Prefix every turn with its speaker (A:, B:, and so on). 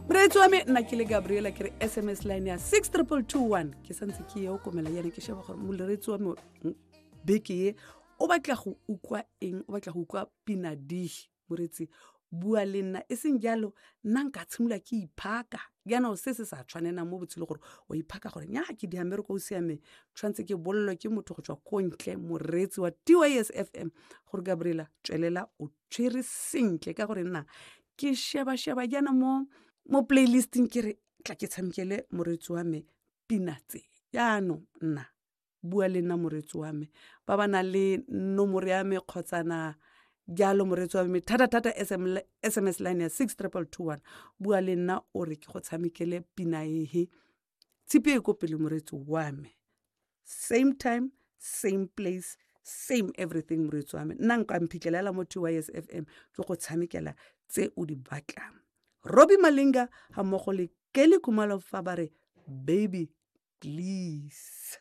A: Moreetsi wa me, nna ke le Gabriela, ke re SMS line ya 62221. Ke santse ke ye o komela yana, ke sheba gore moreetsi wa me beke ye o batla go utlwa eng, o batla go utlwa pina dihi. Moreetsi, bua le nna, e seng jalo nna nka tshimolola ke iphaka jaanong, se se sa tshwanelang mo botshelo, gore o iphaka gore nya ke dia mmereko o siameng, tshwanetse ke bolelwe ke motho go tswa ko ntle, moreetsi wa TYS FM, gore Gabriela, tswelela o tshwere sentle, ka gore nna ke sheba-sheba jaana mo playlisting, ke re tla ke tshamekele moreetsi wa me pina tse. Jaanong nna bua le nna, moreetsi wa me, ba ba nang le nomoro ya me kgotsana jalo, moreetsi wa me, thata-thata SMS line ya 62221, bua le nna o re ke go tshamekele pina ehe. Tshipi e ko pele, moreetsi wa me. Same time, same place, same everything, moreetsi wa me. Nna nka mphitlhelela mo TYS FM, ke go tshamekela tse o di batlang. Robbie Malinga ga mmogo le Kelly Khumalo fa ba re "Baby Please".